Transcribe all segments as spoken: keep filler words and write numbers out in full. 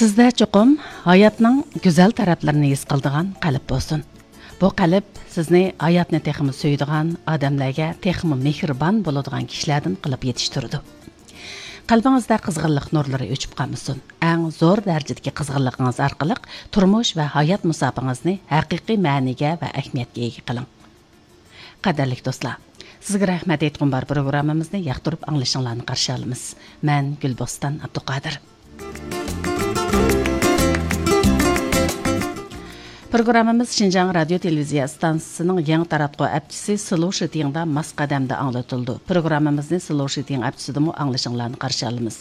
سىزدە چوقۇم ھاياتنىڭ گۈزەل تەرەپلىرىنى ھېس قىلىدىغان قەلب بولسۇن. بۇ قەلب سىزنى ھاياتنى تېخىمۇ سۆيىدىغان، ئادەملەرگە تېخىمۇ مېھرىبان بولىدىغان كىشىلەردىن قىلىپ يېتىشتۈرىدۇ. قەلبىڭىزدە قىزغىنلىق نۇرلىرى ئۆچۈپ قالمىسۇن. ئەڭ زور دەرىجىدىكى قىزغىنلىقىڭىز ئارقىلىق تۇرمۇش ۋە ھايات مۇساپىڭىزنى ھەقىقىي مەنىگە ۋە ئەھمىيەتكە ئىگە قىلىڭ. قەدىرلىك دوستلار، سىزگە رەھمەت ئېيتقۇم بار پروگراممىمىزنى ياقتۇرۇپ ئاڭلىشىڭلارنى قارشى ئالىمىز. مەن گۈلبوستان ئابدۇقادىر. پروگراممىمىز شىنجاڭ رادىيو تېلېۋىزىيە ئىستانسىسىنىڭ يېڭى تاراتقۇ ئەپچىسى سلوشىتىڭدا ماس قەدەمدە ئاڭلىتىلىدۇ. پروگراممىمىزنى سلوشىتىڭ ئەپچىسىدىمۇ ئاڭلىشىڭلارنى قارشى ئالىمىز.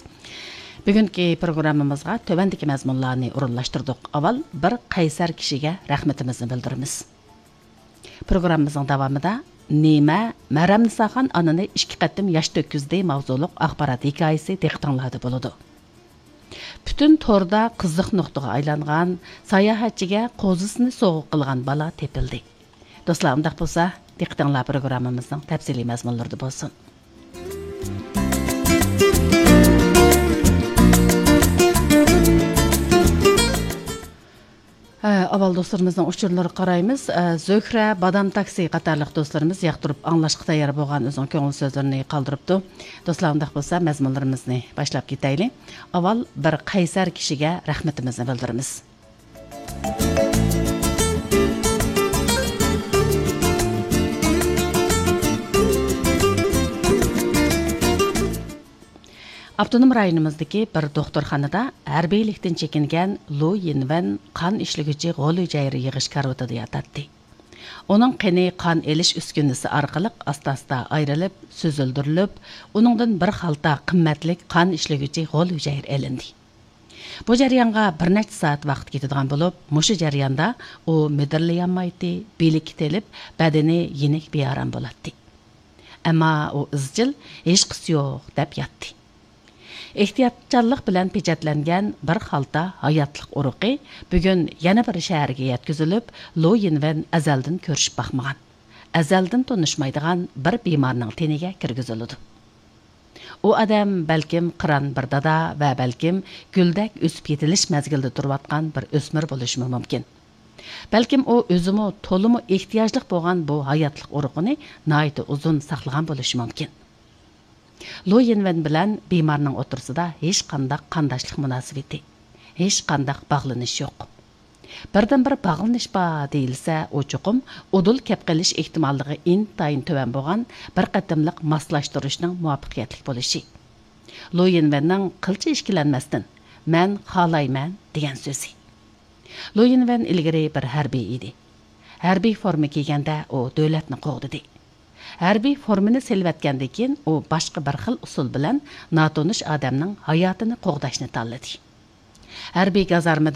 بۈگۈنكى پروگراممىمىزغا تۆۋەندىكى مەزمۇنلارنى ئورۇنلاشتۇردۇق. ئاۋۋال بىر قەيسەر كىشىگە رەھمىتىمىزنى بىلدۈرىمىز. پروگراممىمىزنىڭ داۋامىدا نېمە مەرەمنىساخان ئانىنى ئىككى قېتىم ياش تۆككۈزدى ماۋزۇلۇق ئاخبارات ھېكايىسى دىققىتىڭلاردا بولىدۇ. پۈتۈن توردا قىزىق نۇقتىغا ئايلانغان ساياھەتچىگە قوزىسىنى سوۋغا قىلغان بالا تېپىلدى. دوستلار، ئۇنداق بولسا، دىققىتىڭلار پروگراممىمىزنىڭ تەپسىلىي مەزمۇنلىرىدا بولسۇن. ھە، ئاۋۋال دوستلىرىمىزنىڭ ئۇچۇرلىرىغا قارايمىز. ھە، زۆھرە، بادام تاكسى قاتارلىق دوستلىرىمىز ياقتۇرۇپ ئاڭلاشقا تەييار بولغان ئۆزىنىڭ كۆڭۈل سۆزلىرىنى قالدۇرۇپتۇ. دوستلار، ئۇنداق بولسا مەزمۇنلىرىمىزنى باشلاپ كېتەيلى. ئاۋۋال بىر قەيسەر كىشىگە رەھمىتىمىزنى بىلدۈرىمىز. ئاپتونوم رايونىمىزدىكى بىر دوختۇرخانىدا ھەربىيلىكتىن چېكىنگەن لۇ يىنۋەن قان ئىشلىگۈچى غول ھۈجەيرە يىغىش كارىۋىتىدا ياتاتتى. ئۇنىڭ قېنى قان ئېلىش ئۈسكۈنىسى ئارقىلىق ئاستا-ئاستا ئايرىلىپ، سۈزۈلدۈرۈلۈپ، ئۇنىڭدىن بىر خالتا قىممەتلىك قان ئىشلىگۈچى غول ھۈجەيرە ئېلىندى. بۇ جەريانغا بىر نەچچە سائەت ۋاقىت كېتىدىغان بولۇپ، مۇشۇ جەرياندا ئۇ مىدىرلىيالمايتتى، بېلى كېتىلىپ، بەدىنى يېنىك بىئارام بولاتتى. ئەمما ئۇ ئىزچىل، ھېچقىسى يوق دەپ ياتتى. ئېھتىياتچانلىق بىلەن پېچەتلەنگەن بىر خالتا ھاياتلىق ئۇرۇقى بۈگۈن يەنە بىر شەھەرگە يەتكۈزۈلۈپ، لۇ يىنۋەن ئەزەلدىن كۆرۈشۈپ باقمىغان، ئەزەلدىن تونۇشمايدىغان بىر بىمارنىڭ تېنىگە كىرگۈزۈلىدۇ. ئۇ ئادەم بەلكىم قىران بىر دادا ۋە بەلكىم گۈلدەك ئۆسۈپ يېتىلىش مەزگىلىدە تۇرۇۋاتقان بىر ئۆسمۈر بولۇشىمۇ مۇمكىن. بەلكىم ئۇ ئۆزىمۇ تولىمۇ ئېھتىياجلىق بولغان بۇ ھاياتلىق ئۇرۇقىنى ناھايىتى ئۇزۇن ساقلىغان بولۇشى مۇمكىن. لۇ يىنۋەن بىلەن بىمارنىڭ ئوتتۇرىسىدا ھېچقانداق قانداشلىق مۇناسىۋىتى، ھېچقانداق باغلىنىش يوق. بىردىنبىر باغلىنىش بار دېيىلسە، ئۇ چوقۇم ئۇدۇل كەپ قېلىش ئېھتىماللىقى ئىنتايىن تۆۋەن بولغان بىر قېتىملىق ماسلاشتۇرۇشنىڭ مۇۋەپپەقىيەتلىك بولۇشى. لۇ يىنۋەننىڭ قىلچە ئىككىلەنمەستىن، «مەن خالايمەن» دېگەن سۆزى. لۇ يىنۋەن ئىلگىرى بىر ھەربىي ئىدى. ھەربىي فورما كىيگەندە ئۇ دۆلەتنى قوغدىدى. ھەربىي فورمىنى سېلىۋەتكەندىن كېيىن ئۇ باشقا بىر خىل ئۇسۇل بىلەن ناتونۇش ئادەمنىڭ ھاياتىنى قوغداشنى تاللىدى. ھەربىي گازارمىدا